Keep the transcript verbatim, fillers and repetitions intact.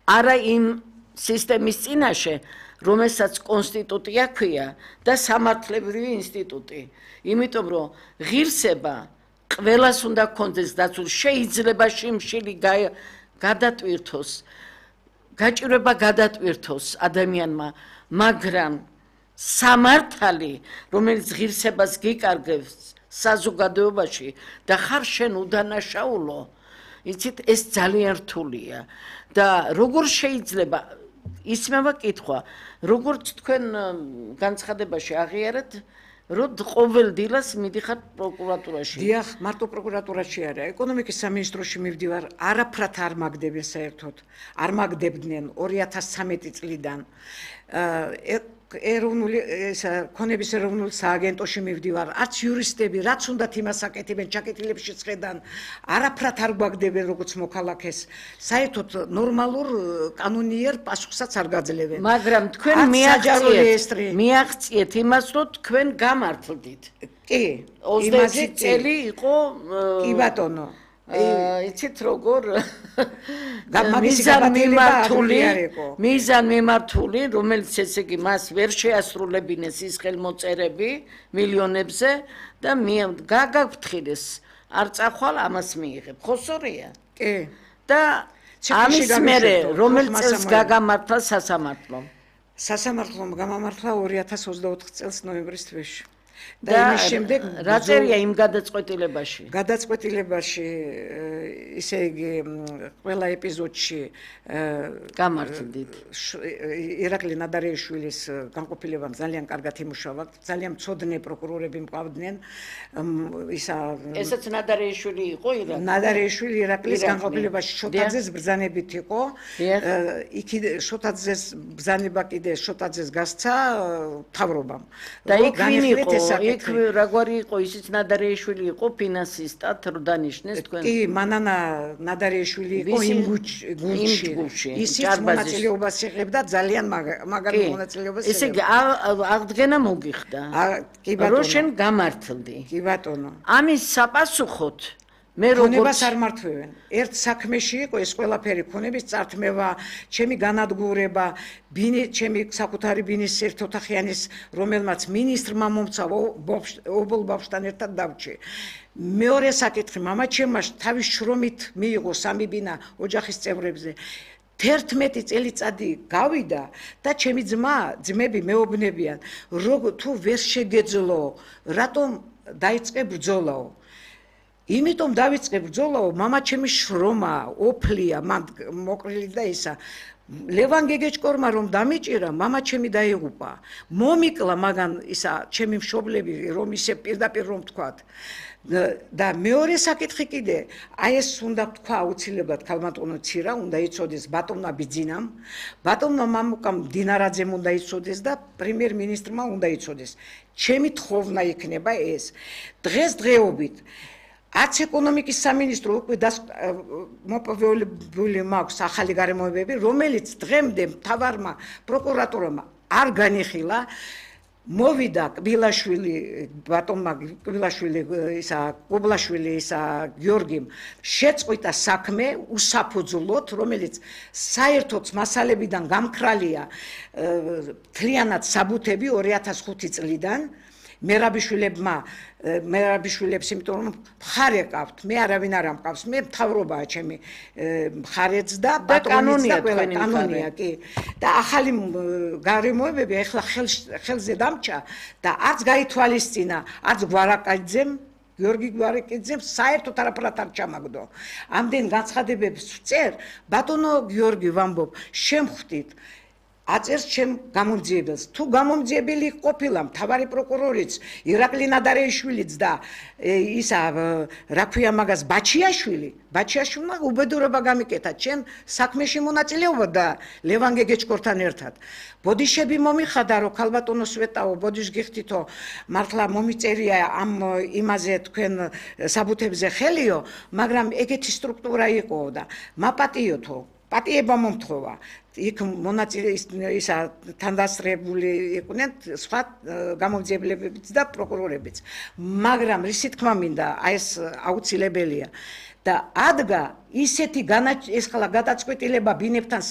არა იმ სისტემის წინაშე, რომელსაც კონსტიტუცია ქვია და სამართლებრივი ინსტიტუტი. იმიტომ რომ ღირსება ყველას უნდა კონდეს დაცულ, შეიძლება შიმშილი გადატვირთოს, გაჭირვება გადატვირთოს ადამიანმა, მაგრამ სამართალი, რომელიც ღირსებას გიკარგებს საზოგადოებაში და ხარ შენ უდანაშაულო, იცით, ეს ძალიან რთულია და როგორ შეიძლება ისმევა კითხვა, როგორც თქვენ განცხადებაში აღიარეთ, რომ ყოველ დილას მიდიხარ პროკურატურაში. დიახ, მარტო პროკურატურაში არა, ეკონომიკის სამინისტროში მივდივარ, არაფრად არ მაგდებენ საერთოდ. არ მაგდებდნენ ორი ათას ცხრამეტი წლიდან. ეროვნული ქონების ეროვნულ სააგენტოში მივდივარ, არც იურისტები, რაც უნდათ იმას აკეთებენ, ჩაკეტილებში ხედან, არაფრად არ გვაგდებენ როგორც მოქალაქეს. საერთოდ ნორმალურ კანონიერ პასუხსაც არ გაძლევენ. მაგრამ თქვენ მიაღწიეთ, მიაღწიეთ იმას, რომ თქვენ გამართლდით. კი, ოცდაექვსი წელი იყო კი ბატონო. იცით როგორ მიზან მიმართული მიზან მიმართული რომელიც ესე იგი მას ვერ შეასრულებინეს ის ხელმოწერები მილიონებზე და გაგაფრთხილეს არ წახვალ ამას მიიღებ ხო სწორია კი და ამის მერე რომელ წელს გაგამართლა სასამართლო სასამართლომ გამამართლა ორი ათას ოცდაოთხ წელს ნოემბრის თვეში და იმის შემდეგ რა წერია იმ გადაწყვეტილებაში? გადაწყვეტილებაში ისე იგი ყველა ეპიზოდში გამართლდით. ირაკლი ნადარეიშვილის განყოფილებამ ძალიან კარგად იმუშავა, ძალიან მცოდნე პროკურორები მყავდნენ. ისა ესაც ნადარეიშვილი იყო ირაკლი? ნადარეიშვილი ირაკლის განყოფილებაში შოტაძეს ბრძანებით იყო. იქ შოტაძეს ბრძანება კიდე შოტაძეს გასცა მთავრობამ. და იქ ვინ იყო? იქ რაგვარი იყო ისიც ნადარეიშვილი იყო ფინანსისტად რო დანიშნეს თქვენ კი მანანა ნადარეიშვილი იყო იმ გუნდში ისიც მონაწილეობას იღებდა ძალიან მაგარი მონაწილეობას ესე იგი აღდგენა მოგიხდა კი ბატონო რო შენ გამართლდი კი ბატონო ამის საპასუხოდ მე ქონებას არ მართვევენ. ერთ საქმეში იყო ეს ყველაფერი ქონების წართმევა, ჩემი განადგურება, ბინი ჩემი საკუთარი ბინის ერთოთახიანის, რომელმაც მინისტრმა მომცა ობოლ ბავშვთან ერთად დავჭი. მეორე საკითხი, მამა ჩემმა თავის შრომით მიიღო სამი ბინა ოჯახის წევრებზე. თერთმეტი წელიწადი გავიდა და ჩემი ძმა, ძმები მეუბნებიან, როგორ თუ ვერ შეგეძლო, რატომ დაიწყე ბრძოლაო? იმიტომ დავიწყე ბრძოლაო, მამა ჩემი შრომა, ოფლია, მან მოკრილი და ისა. ლევან გეგეჭკორმა რომ დამიჭირა, მამა ჩემი დაიღუპა. მომიკლა მაგან ისა ჩემი მშობლები რომ ისე პირდაპირ რომ თქვათ. და მეორე საკითხი კიდე, აი ეს უნდა თქვა აუცილებლად ქალბატონო ცირა, უნდა იცოდეს ბატონმა ბიძინამ, ბატონმა მამუკამ დინარაძემ უნდა იცოდეს და პრემიერ-მინისტრმა უნდა იცოდეს. ჩემი თხოვნა იქნება ეს. დღესდღეობით არც ეკონომიკის სამინისტრო უკვე მოპოვებული მაქვს ახალი გარემოებები, რომელიც დღემდე მთავარმა პროკურატურამ არ განიხილა. მოვიდა კბილაშვილი, ბატონმა კბილაშვილი, ისა კუბლაშვილი, ისა გიორგიმ შეწყვიტა საქმე უსაფუძვლოდ, რომელიც საერთოდ მასალებიდან გამქრალია მთლიანად საბუთები ორი ათას ხუთი წლიდან. მერაბიშვილებმა მერაბიშვილებს იმიტომ რომ მხარე ყავთ, მე არავინ არ ამყავს, მე მთავრობაა ჩემი მხარეც და ბატონიც და ყველა კანონია კი და ახალი გარემოებები ახლა ხელზე დამჭა და არც გაითვალისწინა, არც გვარაკაძემ გიორგი გვარაკაძემ საერთოდ არაფრად არ ჩამაგდო. ამდენ განცხადებებს ვწერ, ბატონო გიორგი ვამბობ, შემხვდით აწერს ჩემ გამომძიებელს. თუ გამომძიებელი ყოფილა მთავარი პროკურორიც, ირაკლი ნადარეიშვილიც და ისა რა ქვია მაგას ბაჩიაშვილი, ბაჩიაშვილმა უბედურება გამიკეთა ჩემ საქმეში მონაწილეობა და ლევან გეგეჭკორთან ერთად. ბოდიშები მომიხადა რომ ქალბატონო სვეტაო, ბოდიშ გიხდითო, მართლა მომიწერია ამ იმაზე თქვენ საბუთებზე ხელიო, მაგრამ ეგეთი სტრუქტურა იყო და მაპატიოთო, პატიება მომთხოვა. იქ მონაწილე ისა თანდასწრებული იყვნენ სხვა გამომძიებლებიც და პროკურორებიც. მაგრამ რისი თქმა მინდა, აი ეს აუცილებელია და ადგა ისეთი ეს ხლა გადაწყვეტილება ბინებთან